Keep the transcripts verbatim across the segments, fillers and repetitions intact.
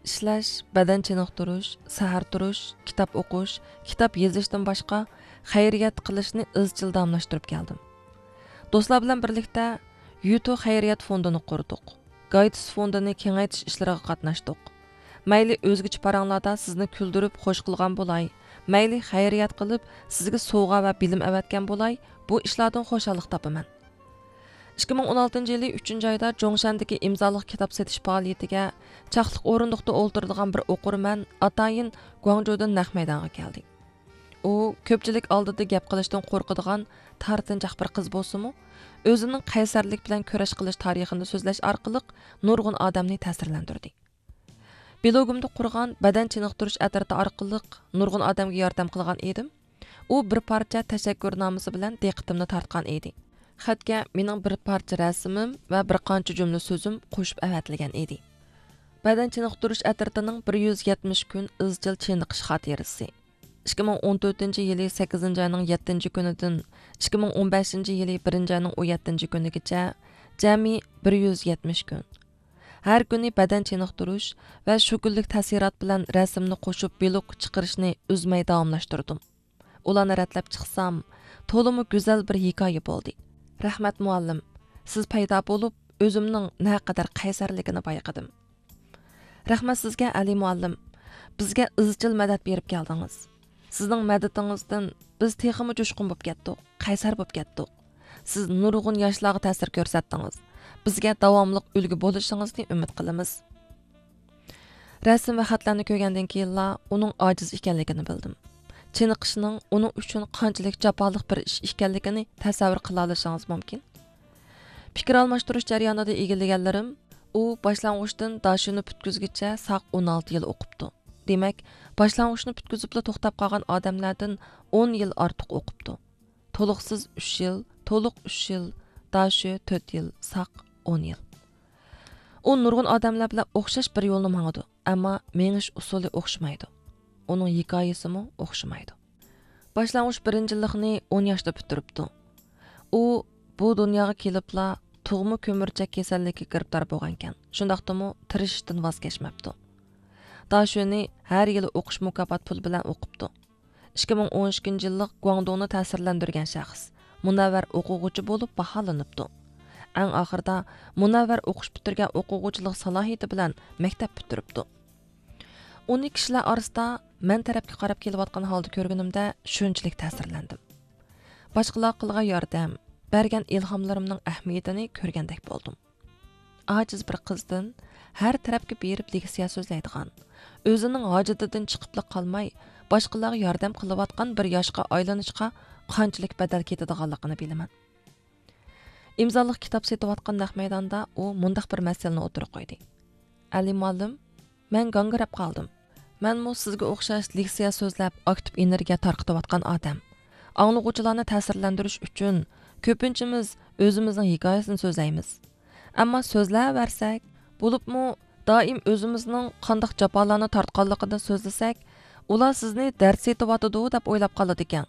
ئىشلەش، بەدەن چېنىقتۇرۇش، سەھەر تۇرۇش، كىتاب ئوقۇش، كىتاب يېزىشتىن باشقا خەيرىيەت قىلىشنى ئىزچىل داۋاملاشتۇرۇپ كەلدىم. دوستلار بىلەن بىرلىكتە يۇتۇ خەيرىيەت فوندىنى قۇردۇق. گايتىس فوندىنى كېڭەيتىش ئىشلىرىغا قاتناشتۇق. مەيلى ئۆزگىچە پاراڭلاردا سىزنى كۈلدۈرۈپ خوش قىلغان بولاي، مەيلى خەيرىيەت قىلىپ سىزگە سوۋغا ۋە بىلىم ئەۋەتكەن بولاي، بۇ ئىشلاردىن خۇشاللىق تاپىمەن. ئىككى مىڭ ئون ئالتىنچى يىلى ئۈچىنچى ئايدا جوڭشەندىكى ئىمزالىق كىتاب سېتىش پائالىيىتىگە چاقلىق ئورۇندۇقتا ئولتۇرىدىغان بىر ئوقۇرمەن ئاتايىن گۇاڭجۇدىن نەق مەيدانغا كەلدى. ئۇ كۆپچىلىك ئالدىدا گەپ قىلىشتىن قورقىدىغان تارتىنچاق بىر قىز بولسىمۇ، ئۆزىنىڭ قەيسەرلىك بىلەن كۈرەش قىلىش تارىخىنى سۆزلەش ئارقىلىق نۇرغۇن ئادەمنى تەسىرلەندۈردى. بىلوگۇمدا قۇرغان بەدەن چېنىقتۇرۇش ئەترىتى ئارقىلىق نۇرغۇن ئادەمگە ياردەم قىلغان ئىدىم. ئۇ بىر پارچە تەشەككۈرنامىسى بىلەن دىققىتىمنى تارتقان ئىدى. خەتكە مېنىڭ بىر پارچە رەسىمىم ۋە بىر قانچە جۈملە سۆزۈم قوشۇپ ئەۋەتىلگەن ئىدى. بەدەن چېنىقتۇرۇش ئەترىتىنىڭ بىر يۈز يەتمىش كۈن ئىزچىل چېنىقىش خاتىرىسى. ئىككى مىڭ ئون تۆتىنچى يىلى سەككىزىنچى ئاينىڭ يەتتىنچى كۈنىدىن ئىككى مىڭ ئون بەشىنچى يىلى بىرىنچى ئاينىڭ ئون يەتتىنچى كۈنىگىچە جەمئىي بىر يۈز يەتمىش كۈن. ھەر كۈنى بەدەن چېنىقتۇرۇش ۋە شۇ كۈنلۈك تەسىرات بىلەن رەسىمنى قوشۇپ ۋلوگ چىقىرىشنى ئۈزمەي داۋاملاشتۇردۇم. ئۇلارنى رەتلەپ چىقسام، تولىمۇ گۈزەل بىر ھېكايە بولدى. رەھمەت مۇئەللىم، سىز پەيدا بولۇپ، ئۆزۈمنىڭ نەقەدەر قەيسەرلىكىنى بايقىدىم. رەھمەت سىزگە، ئەلى مۇئەللىم. بىزگە ئىزچىل مەدەت بېرىپ كەلدىڭىز. سىزنىڭ مەدىتىڭىزدىن بىز تېخىمۇ جۇشقۇن بوپ كەتتۇق، قەيسەر بوپ كەتتۇق. سىز نۇرغۇن ياشلارغا تەسىر كۆرسەتتىڭىز. بىزگە داۋاملىق ئۈلگە بولۇشىڭىزنى ئۈمىد قىلىمىز. رەسىم ۋە خەتلەرنى كۆرگەندىن كېيىنلا ئۇنىڭ ئاجىز ئىكەنلىكىنى بىلدىم. چېنىقىشنىڭ ئۇنىڭ ئۈچۈن قانچىلىك جاپالىق بىر ئىش ئىكەنلىكىنى تەسەۋۋۇر قىلالىشىڭىز مۇمكىن. پىكىر ئالماشتۇرۇش جەريانىدا ئىگىلىگەنلىرىم، ئۇ باشلانغۇچتىن داشۆنى پۈتكۈزگىچە ساق ئون ئالتە يىل ئوقۇپتۇ. دېمەك، باشلانغۇچنى پۈتكۈزۈپلا توختاپ قالغان ئادەملەردىن ئون يىل ئارتۇق ئوقۇپتۇ. تولۇقسىز ئۈچ يىل، تولۇق ئۈچ يىل، داشۆ تۆت يىل، ساق ئون يىل. ئۇ نۇرغۇن ئادەملەر بىلەن ئوخشاش بىر يولنى ماڭىدۇ، ئەمما مېڭىش ئۇسۇلى ئوخشىمايدۇ. ئۇنىڭ ھېكايىسىمۇ ئوخشىمايدۇ. باشلانغۇچ بىرىنچىلىقنى ئون ياشتا پۈتتۈرۈپتۇ. ئۇ بۇ دۇنياغا كېلىپلا تۇغما كۆمۈرچەك كېسەللىكىگە گىرىپتار بولغانىكەن. شۇنداقتىمۇ تىرىشىشتىن ۋاز كەچمەپتۇ. داشۆنى ھەر يىلى ئوقۇش مۇكاپات پۇلى بىلەن ئوقۇپتۇ. ئىككى مىڭ ئون ئىككىنچى يىللىق گۇاڭدۇڭنى تەسىرلەندۈرگەن شەخس، مۇنەۋۋەر ئوقۇغۇچى بولۇپ باھالىنىپتۇ. ئەڭ ئاخىرىدا مۇنەۋۋەر ئوقۇش پۈتتۈرگەن ئوقۇغۇچىلىق سالاھىيىتى بىلەن مەكتەپ پۈتتۈرۈپتۇ. ئۇنى كىشىلەر ئارىسىدا مەن تەرەپكە قاراپ كېلىۋاتقان ھالدا كۆرگىنىمدە شۇنچىلىك تەسىرلەندىم. باشقىلارغا قىلغان ياردەم، بەرگەن ئىلھاملىرىمنىڭ ئەھمىيىتىنى كۆرگەندەك بولدۇم. ئاجىز بىر قىزدىن ھەر تەرەپكە بېرىپ لېكسىيە سۆزلەيدىغان، ئۆزىنىڭ ھاجىتىدىن چىقىپلا قالماي، باشقىلارغا ياردەم قىلىۋاتقان بىر ياشقا ئايلىنىشقا قانچىلىك بەدەل كېتىدىغانلىقىنى بىلىمەن. ئىمزالىق كىتاب سېتىۋاتقان نەق مەيداندا ئۇ مۇنداق بىر مەسىلىنى ئوتتۇرىغا قويدى. ئەلى مۇئەللىم، مەن گاڭگىراپ قالدىم. مەنمۇ سىزگە ئوخشاش لېكسىيە سۆزلەپ، ئاكتىپ ئېنېرگىيە تارقىتىۋاتقان ئادەم. ئاڭلىغۇچىلارنى تەسىرلەندۈرۈش ئۈچۈن كۆپىنچىمىز ئۆزىمىزنىڭ ھېكايىسىنى سۆزلەيمىز. ئەمما سۆزلەۋەرسەك، بولۇپمۇ دائىم ئۆزىمىزنىڭ قانداق جاپالارنى تارتقانلىقىنى سۆزلىسەك، ئۇلار سىزنى دەرد سېتىۋاتىدۇ دەپ ئويلاپ قالىدىكەن.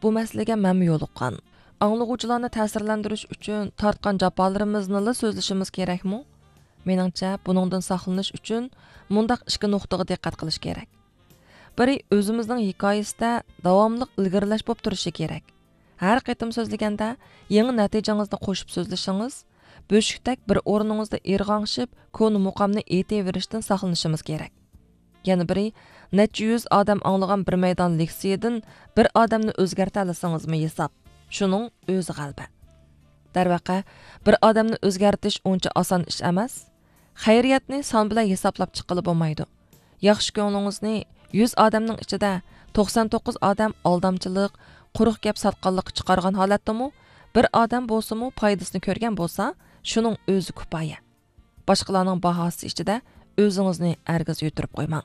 بۇ مەسىلىگە مەنمۇ يولۇققان. ئاڭلىغۇچىلارنى تەسىرلەندۈرۈش ئۈچۈن تارتقان جاپالىرىمىزنىلا سۆزلىشىمىز كېرەكمۇ؟ مېنىڭچە، بۇنىڭدىن ساقلىنىش ئۈچۈن مۇنداق ئىككى نۇقتىغا دىققەت قىلىش كېرەك. بىرى، ئۆزىمىزنىڭ ھېكايىسىدە داۋاملىق ئىلگىرىلەش بولۇپ تۇرۇشى كېرەك. ھەر قېتىم سۆزلىگەندە، يېڭى نەتىجىڭىزنى قوشۇپ سۆزلىشىڭىز، بۆشۈكتەك بىر ئورنىڭىزدا ئىرغاڭشىپ، كونا مۇقامنى ئېيتىۋېرىشتىن ساقلىنىشىمىز كېرەك. يەنە بىرى، نەچچە يۈز ئادەم ئاڭلىغان بىر مەيدان لېكسىيىدىن بىر ئادەمنى ئۆزگەرتەلىسىڭىزمۇ ھېساب. شۇنىڭ ئۆزى غەلىبە. دەرۋەقە، بىر ئادەمنى ئۆزگەرتىش ئۇنچە ئاسان ئىش ئەمەس. خەيرىيەتنى سان بىلەن ھېسابلاپ چىققىلى بولمايدۇ. ياخشى كۆڭلىڭىزنى يۈز ئادەمنىڭ ئىچىدە توقسان توققۇز ئادەم ئالدامچىلىق، قۇرۇق گەپ ساتقانلىققا چىقارغان ھالەتتىمۇ، بىر ئادەم بولسىمۇ پايدىسىنى كۆرگەن بولسا، شۇنىڭ ئۆزى كۇپايە. باشقىلارنىڭ باھاسى ئىچىدە ئۆزىڭىزنى ھەرگىز يۈتتۈرۈپ قويماڭ.